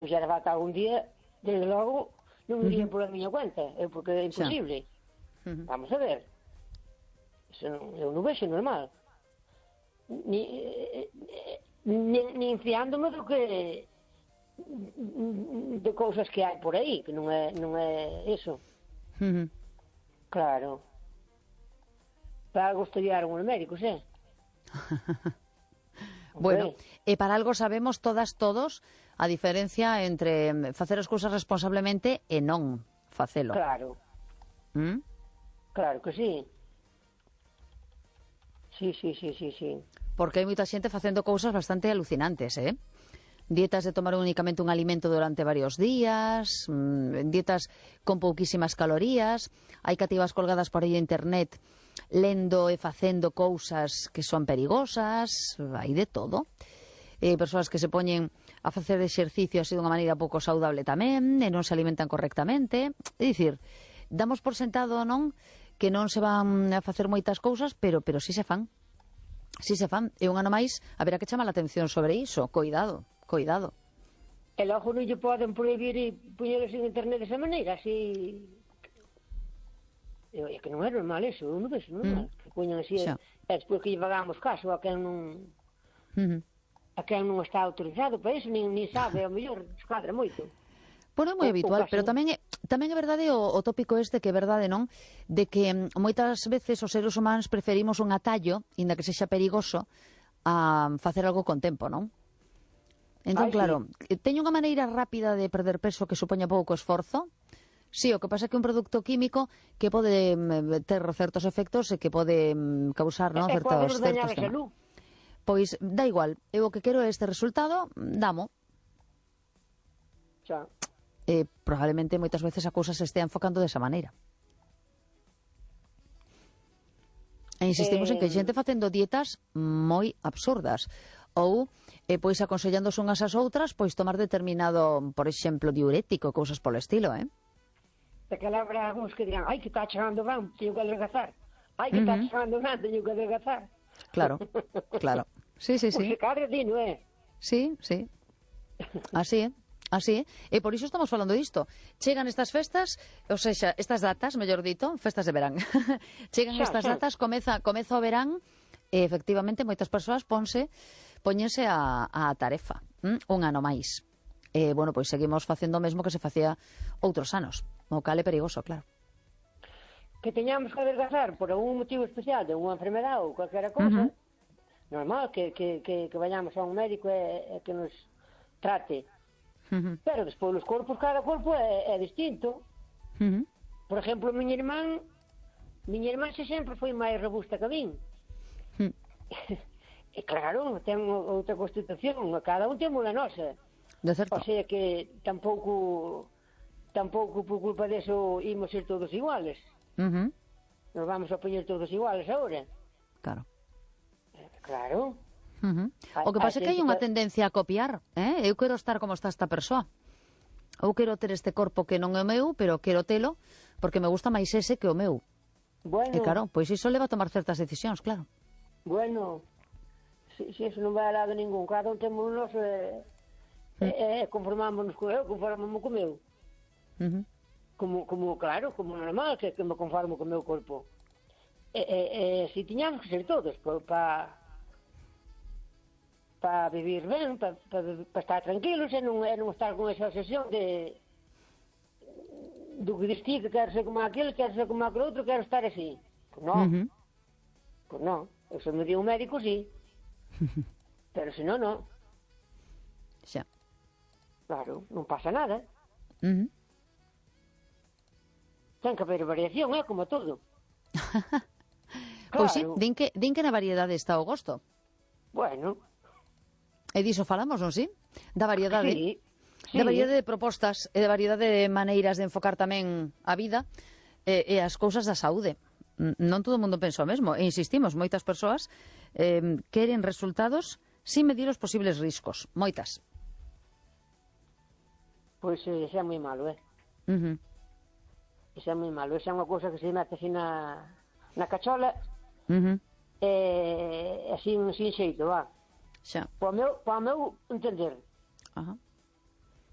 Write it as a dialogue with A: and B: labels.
A: Se era falta algún día, desde logo, non iría por a miña cuenta, porque é imposible. Vamos a ver. Eso eu non vexo normal. Nin fiándome do que de cousas que hai por aí, que non é eso. Claro. Para algo estudiaron os médicos,
B: Bueno, e para algo sabemos todos a diferencia entre facer as cousas responsablemente e non facelo.
A: Claro. Claro que sí. Sí.
B: Porque hai moita xente facendo cousas bastante alucinantes, dietas de tomar únicamente un alimento durante varios días, dietas con pouquísimas calorías, hai cativas colgadas por aí en internet lendo e facendo cousas que son perigosas, hai de todo. Persoas que se poñen a facer exercicio así dunha maneira pouco saudable tamén, e non se alimentan correctamente. É dicir, damos por sentado, non, que non se van a facer moitas cousas, pero si se fan. Si se fan. E un ano máis haberá que chamar a atención sobre iso. Coidado.
A: E logo non lle poden prohibir e poñelos en internet desa maneira, así... É que non é normal eso, eu non vexo normal. Que poñan así, e despois que lle pagamos caso a quen non... A quen non está autorizado para iso, nin sabe, ao mellor escadra moito.
B: Bueno, é moi habitual, pero tamén é verdade o tópico este, que é verdade, non? De que moitas veces os seres humanos preferimos un atallo, inda que sexa perigoso, a facer algo con tempo, non? Entón, claro, teño unha maneira rápida de perder peso que supoña pouco esforzo. Sí, o que pasa é que un produto químico que pode ter certos efectos e que pode causar, non, certos temas. Pois dá igual, eu o que quero é este resultado, damo.
A: Xa.
B: Probablemente moitas veces a cousa se estea enfocando desa maneira. E insistimos en que hai xente facendo dietas moi absurdas, ou pois aconsellándose unhas ás outras pois tomar determinado, por exemplo, diurético, cousas polo estilo,
A: Que habrá algúns que dirán, ai, que está chegando ben, teño que adelgazar. Ai, que está chegando ben, teño que adelgazar.
B: Claro. Sí.
A: Pues se cadre di, non é?
B: Sí. Así é. E por iso estamos falando disto. Chegan estas festas, ou seja, estas datas, mellor dito, festas de verán. Chegan estas datas, comeza o verán, e efectivamente moitas persoas póñense a tarefa. Un ano máis. Bueno, pois seguimos facendo o mesmo que se facía outros anos. O cal é perigoso, claro.
A: Que teñamos que adelgazar por algún motivo especial, de unha enfermedade ou calquera cousa, normal que vayamos a un médico e que nos trate. Pero despois os corpos, cada corpo é distinto. Por exemplo, miña irmán xe sempre foi máis robusta que a min. E claro, ten outra constitución, cada un temos a nosa. O sea que tampouco por culpa deso imos ser todos iguales. Nos vamos a poñer todos iguales agora. Claro.
B: O que pasa é que hai unha tendencia a copiar, eu quero estar como está esta persoa, ou quero ter este corpo que non é o meu, pero quero telo porque me gusta máis ese que o meu.
A: Bueno.
B: E claro, pois iso leva a tomar certas decisións, claro.
A: Bueno, si eso non vai a lado ningún, cada un temos nos conformámonos co eu, conformámonos co meu. Como claro, como normal que me conformo co meu corpo. Si tiñamos que ser todos para vivir ben, para estar tranquilos e non estar con esa obsesión do que distí, que quero ser como aquele, quero ser como aquele outro, quero estar así. Pois non. Se me di un médico, sí. Pero se non, non.
B: Xa.
A: Claro, non pasa nada. Ten que haber variación, como todo.
B: Pois sí, din que na variedade está o gosto.
A: Bueno.
B: E diso falamos, non si? Da variedade.
A: Sí.
B: Da variedade de propostas e da variedade de maneiras de enfocar tamén a vida e as cousas da saúde. Non todo o mundo pensa o mesmo. E insistimos, moitas persoas queren resultados sin medir os posibles riscos. Moitas.
A: Pois xa é moi malo, Xa é moi malo. Xa é unha cousa que se mete así na cachola así sin xeito, va.
B: Xa.
A: Para o meu entender.